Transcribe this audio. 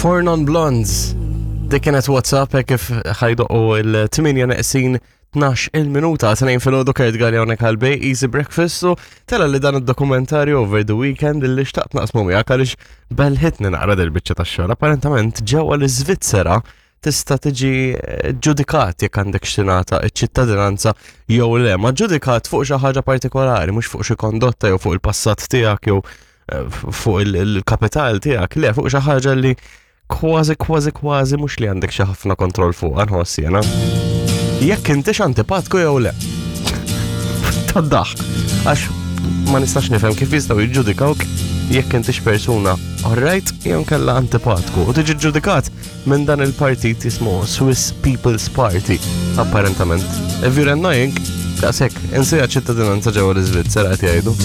Four Non Blondes. Dik kienet WhatsApp hekk kif ħajdoqu il-8 neqsin 12 il-minuta tnejn filgħodu Kurt Galli hawnhekk għal Bay Easy Breakfast u tela li dan id-dokumentarju over the weekend illi xtaqt naqsmu miegħek għaliex belħitni naqra dil-biċċa tax-xogħol. Apparentament ġewwa l-Iżvizzera tista' tiġi eh, ġudikat jekk għandek x'tingħata ċ-ċittadinanza jew le, ma ġudikat fuq xi ħaġa partikolari, mhux fuq xi kondotta jew fuq il-passat tiegħek jew eh, fuq il-kapital tiegħek, le fuq xi ħaġa li kważi kważi kważi mhux li għandek xi ħafna kontroll fuq nħoss jiena. Jekk intix antipatku jew le. Tad-daħk. Għax ma nistax nifhem kif jistgħu jiġġudikawk jekk intix persuna alright jew kella antipatku u tiġi ġudikat minn dan il-partit jismu Swiss People's Party, apparentament. If you're annoying, daqshekk, insija ċittadinanza ġewwa l-Iżvizzera qed jgħidu.